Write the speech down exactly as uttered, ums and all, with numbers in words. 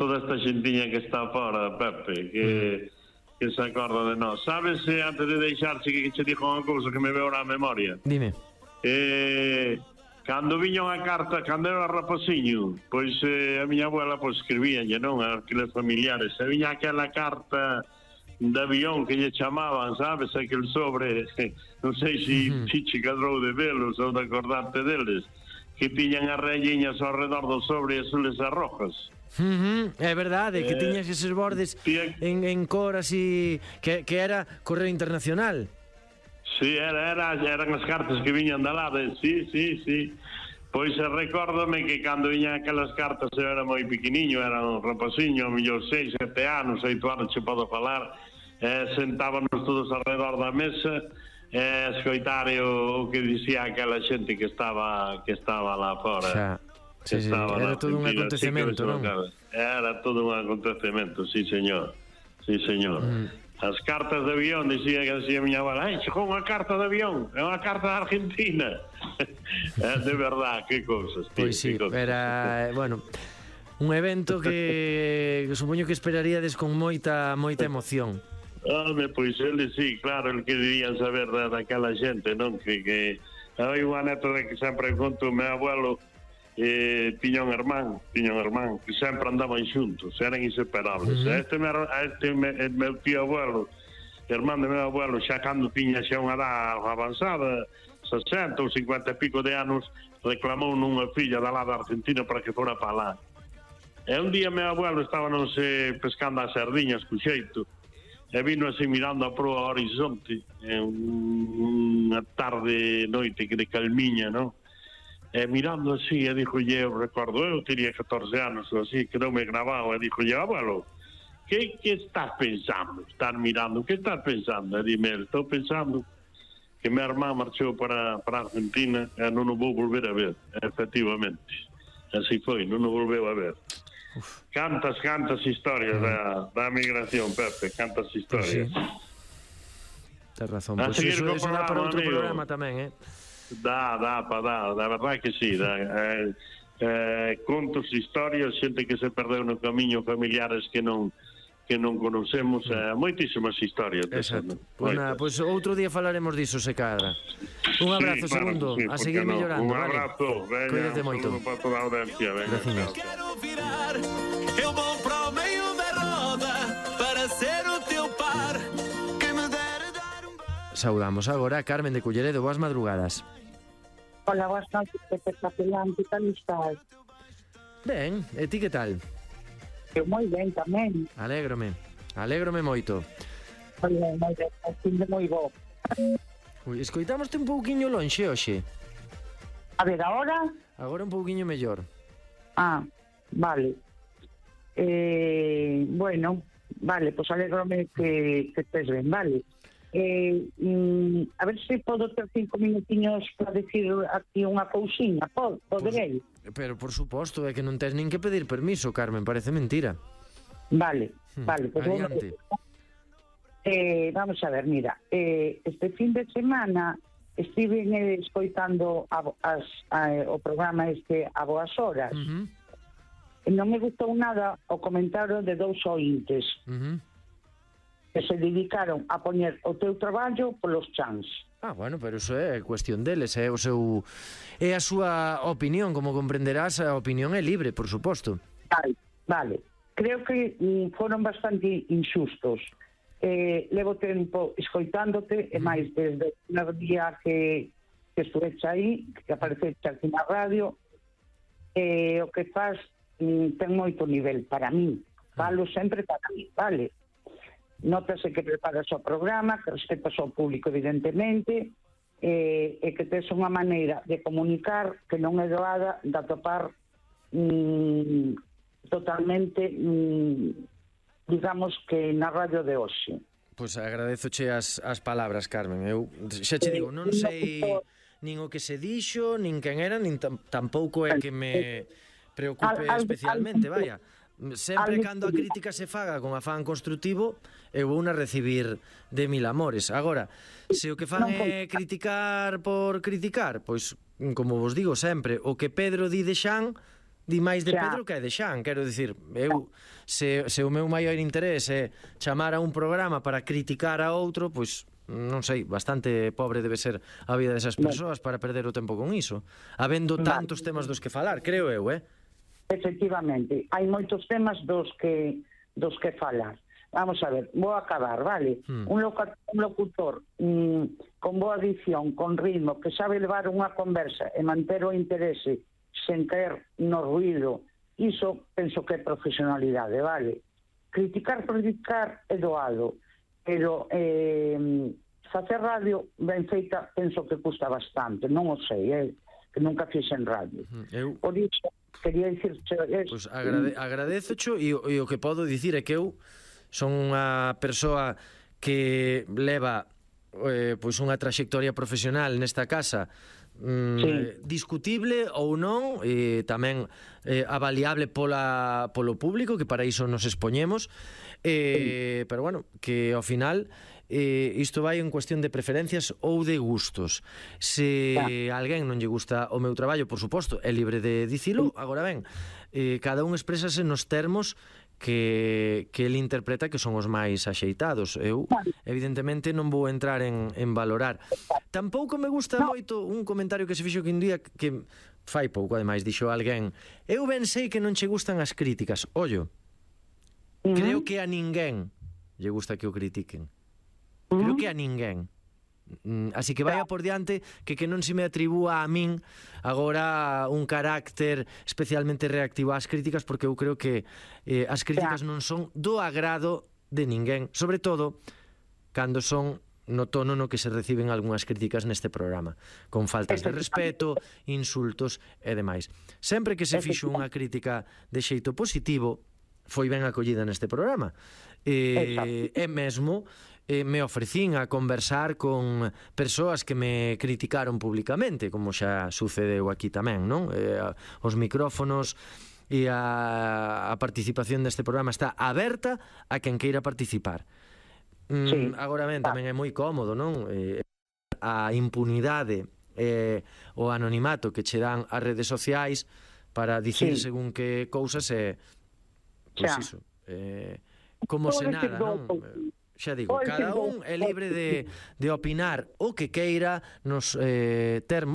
toda esta xentiña que está fora, Pepe, que, mm. que se acorda de nós. Sabes, antes de deixarche, que che dixo unha cousa que me veo na memoria? Dime. Eh, cando viña unha carta, cando era rapaciño, pois eh, a miña abuela pois, escribíanlle, non? A aqueles familiares. E viña aquela carta de avión que lle chamaban, sabes? Aquel sobre, non sei se uh-huh. si che cadrou de velos ou de acordarte deles, que tiñan as rayiñas ao redor do sobre azules e rojas. Uh-huh. É verdade, que eh, tiñas eses bordes tía... en, en cor así, que, que era correo internacional. Sí, era, era, eran as cartas que viñan da lado, sí, sí, sí. Pois recórdome que cando viñan aquelas cartas eu era moi pequeniño, era un rapaciño, a mellor seis, sete anos, oito anos, che podo falar, eh, sentábamos todos alrededor da mesa, eh, escoitar o, o que dicía aquela xente que estaba que estaba lá fora. Xa. Sí, sí, era todo un acontecemento, non? Era todo un acontecemento, sí, señor. Sí, señor. Mm. As cartas de avión, dicía que decía a miña abuela, ai, chegou unha carta de avión, é unha carta da Argentina. É de verdad, que cousas. Pois sí, era, bueno, un evento que, que supoño que esperaríades con moita moita emoción. Home, pois ele sí, claro, el que dirían saber da, daquela xente, non? Que, que hai unha anécdota que sempre conto o meu abuelo, eh, tiña un hermán, tiña un hermán que sempre andaban xuntos, eran inseparables. Uh-huh. Este, meu, este meu tío abuelo, hermán de meu abuelo, xa cando tiña xa unha edad avanzada, sesenta ou cincuenta e pico de anos, reclamou nunha filla da lá da Argentina para que fora para lá. E un día meu abuelo estaba non se pescando as sardiñas co xeito, e vino así mirando a proa ao horizonte, en unha tarde noite que de calmiña, non? E mirando así, e dixolle, eu recordo, eu teria catorce anos ou así, quedoume grabado, e dixolle, abuelo, que, que estás pensando? Estás mirando, que estás pensando? E dime, estou pensando que meu irmán marchou para, para a Argentina e non o vou volver a ver, efectivamente. Así foi, non o volveu a ver. Uf. Cantas, cantas historias uh-huh. da, da migración, Pepe, cantas historias. Pues sí. Tens razón, pois pues eso, eso dá para outro amigo. Programa tamén, eh? Dá, dá, pa, dá, da verdade que sí, dá, eh, eh, contos, historias, xente que se perdeu no camiño, familiares que non que non conocemos, eh, moitísimas historias. Exacto. Pois pues, pues outro día falaremos diso, se cadra. Un abrazo, sí, segundo, sí, a seguir no? mellorando, un abrazo, vale? Cuídate moito. Un para toda a audiencia, venga. Gracias. Quero virar, eu vou para o meio da roda para ser o teu par. Saudamos agora a Carmen de Culleredo. Boas madrugadas. Hola, boas noches, espectacular, que tal estás? Ben, e ti que tal? Eu moi ben tamén. Alégrome, alégrome moito. Moi ben, moi ben, así de moi bo. Ui, escoitámoste un pouquiño lonxe hoxe. A ver, agora? Agora un pouquiño mellor. Ah, vale. Eh, bueno, vale, pois pues alégrome que, que estés ben, vale. Eh, mm, a ver se podo ter cinco minutiños para decir aquí unha cousiña. Pod, poderei? Pues, pero por suposto, é que non tes nin que pedir permiso, Carmen, parece mentira. Vale, hmm. vale, pues adiante. Eh, vamos a ver, mira, eh, este fin de semana estive eh, escoitando a, as, a, o programa este a boas horas. Uh-huh. E non me gustou nada o comentario de dous ointes. Uh-huh. Que se dedicaron a poñer o teu traballo polos chans. Ah, bueno, pero iso é cuestión deles, é o seu é a súa opinión, como comprenderás, a opinión é libre, por suposto. Vale, vale. Creo que mm, foron bastante injustos. Eh, levo tempo escoitándote, mm. e máis desde o primer día que, que estuveche aí, que apareceche aquí na radio, eh, o que faz mm, ten moito nivel para mí. Falo sempre para mí, vale? Nótase que preparas o programa, que respetas ao público, evidentemente, eh, e que tes unha maneira de comunicar que non é doada de atopar mm, totalmente, mm, digamos que na radio de hoxe. Pois agradezoche as, as palabras, Carmen. Eu xa che digo, non sei nin o que se dixo, nin quen era, nin tampouco é que me preocupe especialmente, vaya. Sempre cando a crítica se faga con afán construtivo, eu vou na recibir de mil amores. Agora, se o que fan é criticar por criticar, pois, como vos digo sempre, o que Pedro di de Xan, di máis de Xa. Pedro que é de Xan, quero dicir, eu se, se o meu maior interés é chamar a un programa para criticar a outro, pois non sei, bastante pobre debe ser a vida desas persoas para perder o tempo con iso, habendo tantos temas dos que falar, creo eu, eh? Efectivamente, hai moitos temas dos que dos que falar. Vamos a ver, vou acabar, vale? Hmm. Un, loca, un locutor mm, con boa dicción, con ritmo, que sabe levar unha conversa e manter o interese sen caer no ruído, iso penso que é profesionalidade, vale? Criticar, criticar é doado, pero eh, facer radio ben feita penso que custa bastante, non o sei, eh, que nunca fixen radio. Eu... Por iso, quería dicir... Pois agrade, agradezocho e, e o que podo dicir é que eu son unha persoa que leva eh, pois unha traxectoria profesional nesta casa mm, Sí. discutible ou non, e tamén eh, avaliable pola, polo público, que para iso nos expoñemos, eh, pero bueno, que ao final eh, isto vai en cuestión de preferencias ou de gustos. Se a alguén non lle gusta o meu traballo, por suposto, é libre de dicilo. Agora ben, eh, cada un exprésase nos termos que, que ele interpreta que son os máis axeitados. Eu, evidentemente, non vou entrar en, en valorar. Tampouco me gusta moito un comentario que se fixo que un día que fai pouco, ademais, dixo alguén: eu ben sei que non che gustan as críticas. Ollo, creo que a ninguén lle gusta que o critiquen. Creo que a ninguén. Mm, Así que vaya por diante que que non se me atribúa a min agora un carácter especialmente reactivo ás críticas, porque eu creo que eh, as críticas non son do agrado de ninguén, sobre todo cando son no tono no que se reciben algunhas críticas neste programa, con faltas de respeto, insultos e demais. Sempre que se fixo unha crítica de xeito positivo, foi ben acollida neste programa. E, e mesmo eh, me ofrecín a conversar con persoas que me criticaron públicamente, como xa sucedeu aquí tamén, non? Eh, os micrófonos e a, a participación deste programa está aberta a quen queira participar. Mm, Sí. Agora ben, tamén é moi cómodo, non? Eh, a impunidade e eh, o anonimato que che dan as redes sociais para dicir Sí. según que cousas é, pois Xa. iso, eh, como se Pode ser nada, non? douto. Eh, Xa digo, Pode ser cada un douto. é libre de, de opinar o que queira nos eh, termos